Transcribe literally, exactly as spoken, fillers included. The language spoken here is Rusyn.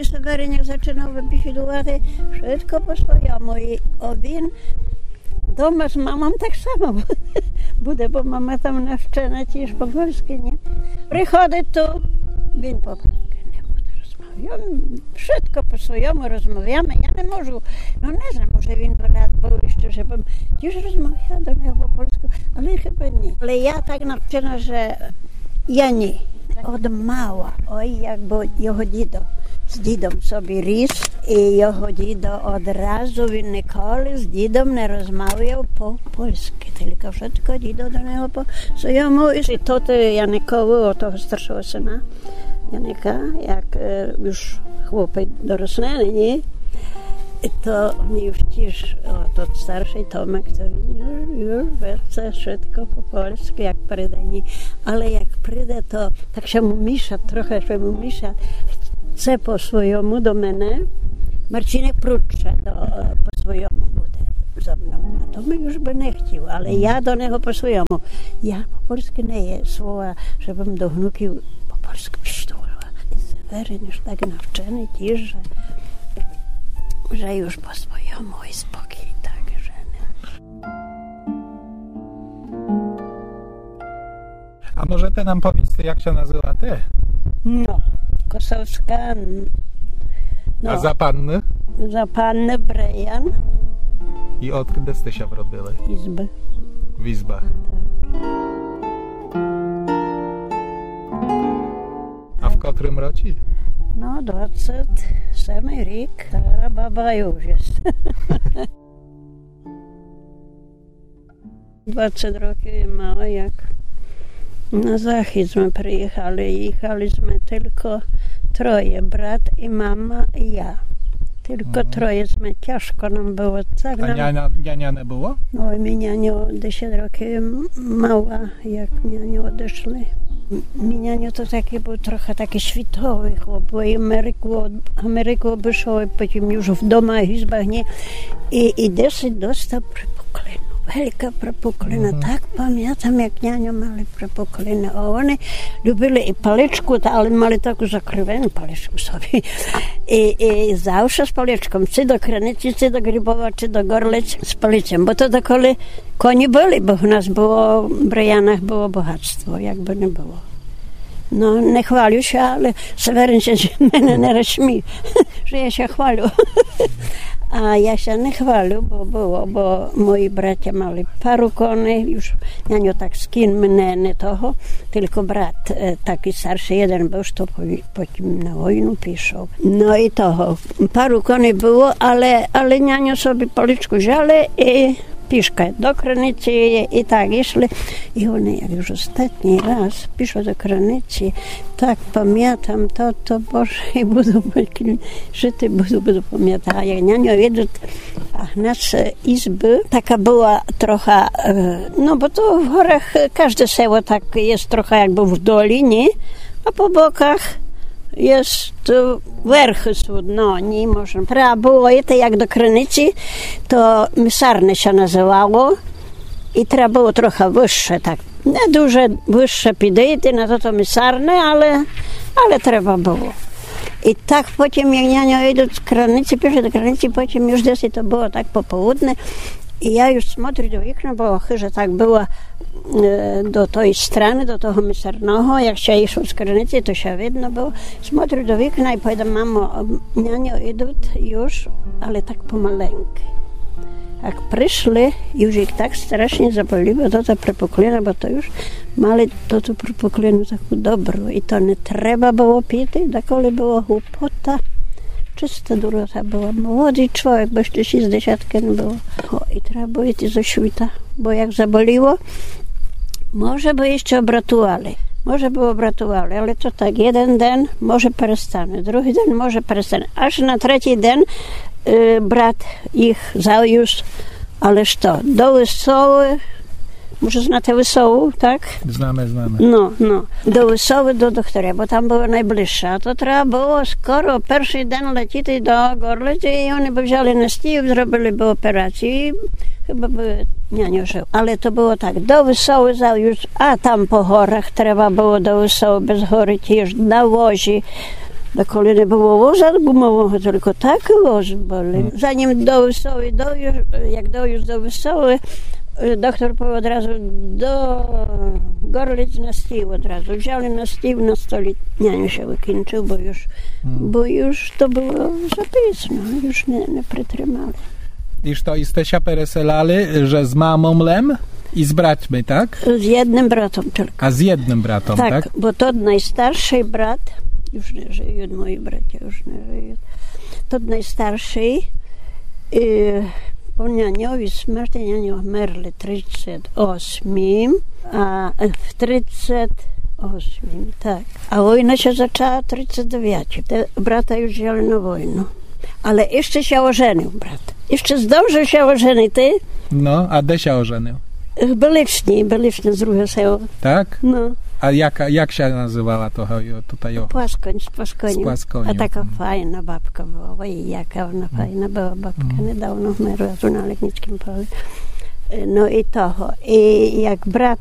Северин як зачинав бесідувати, швидко по своєму. І він дома з мамом так само буде, бо мама там навчена тіж по польськи, ні? Приходить ту, він по польськи не буде розмовляти. Я швидко по своєму розмовляме, я не можу, ну не знам, може він бы рад быв іщы, жебым тіж розмовляла до нього по польську, але хыба ні. Але я так навчена, же я ні. Од мала. Ой, як бы його дідо з дідом собі ріс, і його дідо одразу, він николи з дідом не розмовляв по польськи, тілько швидко дідо до нього по своєму. І то ти Яникову, о того старшого сына, Яника, як, е, юж хлопець дорослений, ні? То мі юж тіж, о, тот старшый Томек, то він юж, юж вельце швидко по польськи, як приде, ні. Але як приде, то так ся му міша, трохи ся му міша, хце по своєму до мене, Марчинек прудше до, е, по своєму буде зо мнов. А то мі юж бы не хтів, але я до нього по своєму. Я по польськи не є слова, жебым до внуків по польськи бесідувала. І Северин юж так навченый тіж, же, же юж по своєму і спокій так, же не. А можете нам повісти, як ся называте? Но, Косовска, н-, но. А за панны? За панны Бреян. І одкуды сте ся вродили? Ізбы. В Ізбах. Так. А в котрым році? Но, двадцет семый рік. Стара баба юж єст. Двадцет років мала, як на захід сме приїхали. Їхали сме тілько троє, брат і мама і я. Тілько троє сме, тяжко нам было. Так. А нам няня, няня не было? Ой, мій няньо десять років м-, мала, як няньо одышли. М-, мій няньо то такый быв трохи такый світовый хлоп, бо і Америку, Америку обышов, і потім юж вдома в Ізбах, ні. І, і десять достав препуклину. Велька препуклина. Так памятам, як няньо мали препуклину. А они любили і паличку, та, але мали таку закривену паличку собі. І, і завше з паличком. Ци до Криниці, ци до Грибова, ци до Горлиць з палицьом. Бо то доколи коні были, бо в нас было, в Бреянах было богатство, як бы не было. Но, не хвалю ся, але Северин ся з мене не розсміє, же я ся хвалю. А я ся не хвалю, бо было, бо мої братя мали пару коней, юж няньо так з кіньми не, не того, тілько брат, е, такый старшый єден быв, што по-, потім на войну пішов. Но і того, пару коней было, але, але няньо собі паличку взяли і пішкы до Криниці і так ішли. І они, як юж остатній раз пішли до Криниці, так памятам то, то, Боже, і буду, жыти буду, буду памятати. А як няньо ідут, а в нас, е, ізбы, така была троха, е, но, бо то в горах, е, кажде село так єст троха якбы в доліні, а по боках єст, е, верхы сут, но, ні, може. Треба было іти, як до Криниці, то Місарне ся называло, і треба было троха выше, так. Не дуже выше підыти на тото Місарне, але, але треба было. І так потім, як няньо ідут з Криниці, пішли до Криниці, потім юж десь то было так пополудне. І я юж смотрю до вікна, бо хыжа так была, е, до той страны, до того Місарного, як ся ішло з Криниці, то ся видно было. Смотрю до вікна і повідам: «Мамо, няньо ідут юж, але так помаленькы». Як пришли, юж їх так страшні заболіло, то та препуклина, бо то юж мали тоту препуклину таку добру. І то не треба было піти, даколи была глупота. Чыста дурота была. Молодый чловек, бо іщы шістдесяткы не было. О, і треба было іти зо світа, бо як заболіло, може бы іщы обратували. Може бы обратували, але то так, єден ден, може, перестане, другый ден, може, перестане. Аж на третій ден, е, брат їх завюз, але што, до Высовы, може, знате Высову, так? Знаме, знаме. Но, но. До Высовы, до докторя, бо там было найближше. А то треба было скоро першый ден летіти до Горлиці, і они бы взяли на стіл, зробили бы операцію, і хыба бы няньо жыв. Але то было так, до Высовы завюз, а там по горах треба было до Высовы, без горы тіж, на возі. Доколи не было воза гумового, тілько такы возы были. Мгм. Занім до Высовы довіз, як довіз до Высовы, е, доктор повів одразу до Горлиц на стіл одразу. Взяли на стіл, на столі няню ся выкінчыв, бо юж, Мгм. бо юж то было за пізно, юж не, не притримали. І што, і сте ся переселяли, же з мамом лем і з братьми, так? З єдным братом тілько. А з єдным братом, так? Так, бо тот найстаршый брат, юж не жыють, мої братя юж не жыють. Тот найстаршый, е, по няньовій смерти, няньо вмерли тридцет осмім, а, е, в тридцет осмім, так. А война ся зачала тридцет девятім. Те брата юж взяли на войну. Але іщы ся оженив брат. Іщы здолжыв ся оженити. Но, а де ся оженив? В Беличні, Беличне друге село. Так? Но. А як, як ся называла того, йо-, тута його? Пłaskoń, z Płaskoniu. Z Płaskoniu. А така файна бабка была. Ой, яка она файна была бабка. Недавно вмерла ту на Летнїцкім полю. Е, но і того. І як брат